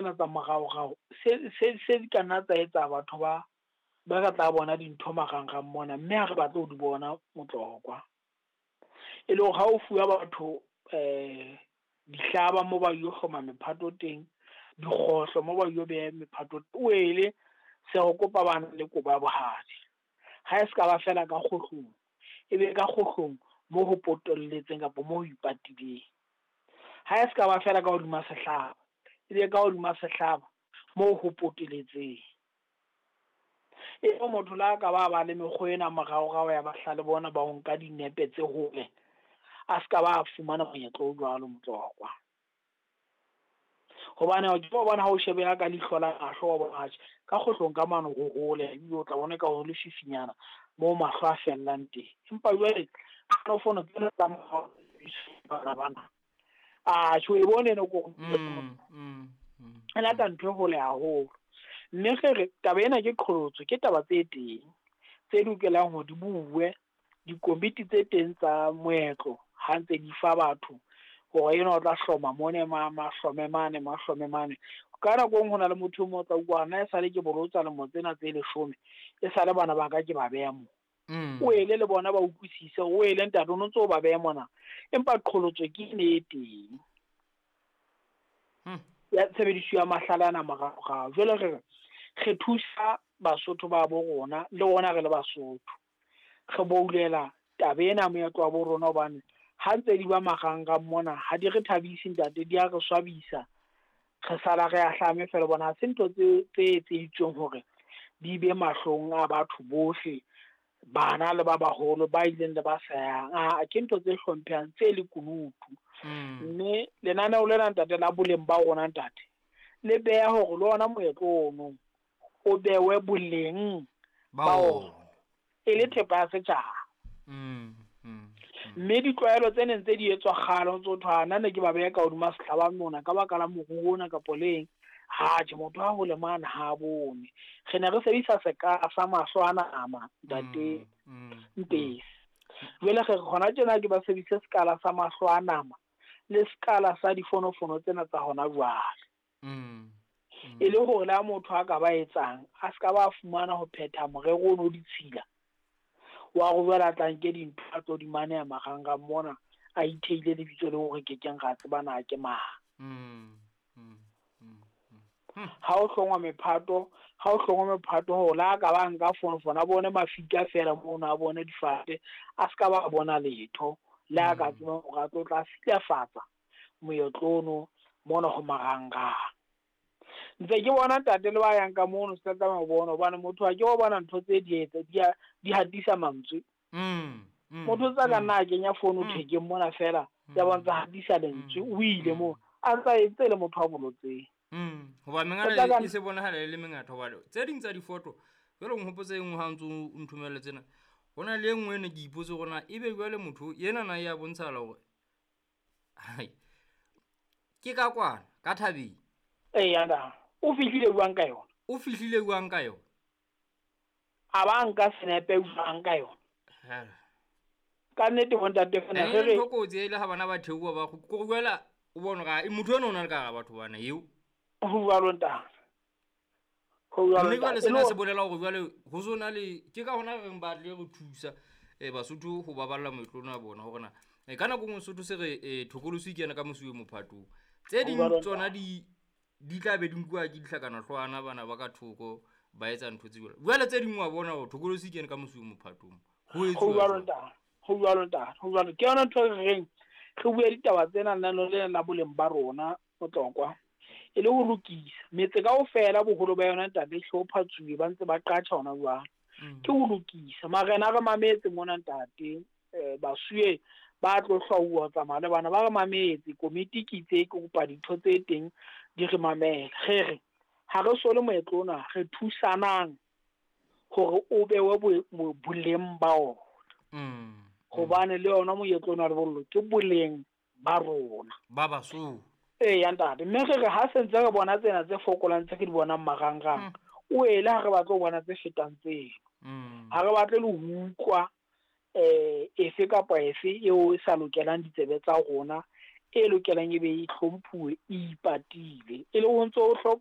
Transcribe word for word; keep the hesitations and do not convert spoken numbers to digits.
tsena tsa moraorao se se se di ka nna tsa etsa batho ba ba ka tla bona dintho marangrang mona, mme ha re batle ho di bona Motlokwa. E le hore ha o fuwa batho um dihlaba mo ba yo hloma mephato teng, dikgohlo mo ba yo beha mephato, o ele se re kopa bana le kobo ya bohadi. Ha e se ka ba fela ka kgohlong, e be ka kgohlong mo ho potolletseng kapa mo ho ipatileng. Ha e se ka ba fela ka hodima sehlaba, e be ka hodima sehlaba mo ho poteletseng. E re motho le ha ka ba ba le mekgwa ena moraorao ya bahlale bona ba ho nka dinepe tse hole, a ska ba fumana monyetla o jwalo Motlokwa. Hobane o ke bona ha o shebeha ka leihlo la mahlo wa bona atjhe ka kgohlong ka mane ho hole, ebile o tla bona ka ho lefifinyana moo mahlo a fellang teng. Empa jwale fono tsena tsa morao bana bana, atjhe o e bone eno ko Mm, mm, mm. e lata ntho e hole haholo. Mme re re taba ena ke qholotso, ke taba tse teng tse lokelang hore di buwe, dikomiti tse teng tsa moetlo ha ntse di fa batho hore enwa o tla hloma mone ma mahlome mane mahlome mane. Ka nako e nngwe ho na le motho e mong o tla utlwa nna esale ke bolotsa lemo tsena tse leshome, e sale bana ba ka ke ba beha mo. Mm. O ele le bona ba utlwisise, o ele ntate o no ntso o ba beha mona, empa qholotso ke ene e teng. Hmm. Ya tshebediso ya mahlale ana moraorao. Jwale re re re thusa Basotho ba bo rona, le rona re le Basotho. Re boulela taba ena moetlo wa bo rona, hobane ha ntse di ba marangrang mona ha di re thabise ntate, di a re swabisa. Re sala re ahlame fela bona ha se ntho tse tse etseditsweng hore di be mahlong a batho bohle, bana le ba baholo ba ileng le ba sa yang. Ah, ke ntho tse hlomphehang tse lekunutu. Mm. Mme lenaneo lena ntate la boleng ba rona ntate, le beha hore le ona moetlo ono o bewe boleng Ba ba ona. ona e le thepa ya setjhaba. Mm, mm, mm. Mme ditlwaelo tse neng tse di etswa kgale ho ntso thwe nna ne ke ba beha ka hodima sehlaba mona ka baka la moruo ona kapo leng, ha tjhe motho ha hole mane ha bone. Re ne re sebedisa sekala sa mahlo a nama ntate Mm, mm, Mpesi. Jwale re re hona tjena ke ba sebedise sekala sa mahlo a nama le sekala sa difonofono tsena tsa hona jwale. Mm, mm. E le hore le ha motho a ka ba etsang, a ska ba fumana ho phetha morero ono o ditshila wa hore jwale a tla nke dintho a tlo di maneha marangrang mona, a itheile lebitso leo re kekeng ra tseba na ke mang. Mm, mm, mm, mm. Ha o hlongwa mephato, ha o hlongwa mephato hore le ha ka ba nka fonofono a bone mafika fela mono, a bone difate, a ska ba bona letho. Le ha ka Mm. tseba hore a tlo tla silafatsa moetlo ono mona ho marangrang. Ntse ke bona ntate le ba yang ka mono se tla tlameha ho bona, hobane motho ha ke wa bona ntho tse di etsa, di a, di hatisa mantswe. Mm, mm, Motho o tsa ka mm. nna a kenya fono Mm. thekeng mona fela, ya bontsha hatisa lentswe, Mm. o ile Mm. moo, a ntsa entse le motho a bolotseng. Mm, hoba O mengala tla ka e se bonahala e le mengata, hoba tse ding tsa difoto, jwale o nhopotse e nngwe ha o ntso o nthomelle tsena. Ho na le e nngwe e ne ke ipotse hore na ebe jwale motho ena na ya bontshahala hore, hai, ke ka kwana, ka thabeng. Eya nna, o fihlile jwang ka yona? O fihlile jwang ka yona? A ba nka senepe jwang ka yona? Hela. Ka nnete bo ntate fela Eh, re re ntho kotsi e le ha bana ba theoha ba kgu-, ko jwale o bone hore, ah, motho enwa o na le ka hara batho bana eo. Ho jwalo ntate. Ho jwalo Mme jwale ntate. sena E le se bolela hore jwale ho so na le, ke ka hona re reng ba tle re thusa, eh, Basotho ho baballa moetlo ona wa bona hore na, eh, ka nako e nngwe Sesotho se re, eh, thokolosi ke yena ka mosuwe mophatong. Tse Ho ding jwalo tsona ntate. di, di tla be di nkuwa ke dihlakanahlwana bana ba ka thoko ba etsa ntho tse jwalo. Jwale tse ding wa bona hore thokolosi ke yena ka mosuwe mophatong. Ho Ho etsuwa jwalo jwang? ntate. Ho jwalo ntate. Ho jwalo. Ke yona ntho e re reng re bue ditaba tsena lenaneo lena la boleng ba rona Motlokwa, e le ho lokisa metse kaofela, boholo ba yona ntate e hlophatsuwe ba ntse ba qatjha hona jwale. Mm. Ke ho lokisa marena a re mametse mona ntate, eh, basuwe ba tlo hlwauwa ho tsamaya le bana ba re mametse. Komiti ke itse ke kopa dintho tse teng di re mamele. Re re ha re sole moetlo ona, re thusanang hore o bewe bo-, bo-, boleng ba ona. Mm. Hobane le yona moetlo ona wa lebollo ke boleng ba rona. Ba Basotho. Eya ntate, mme re re ha se ntse re bona tsena tse fokolang tse re di bonang marangrang, Mm. o ele ha re batle ho bona tse fetang tseno. Mm. Ha re batle le ho utlwa, eh, efe kapa efe eo e sa lokelang ditsebe tsa rona e lokelang e be e hlomphuwe e ipatile. E le ho ntso ho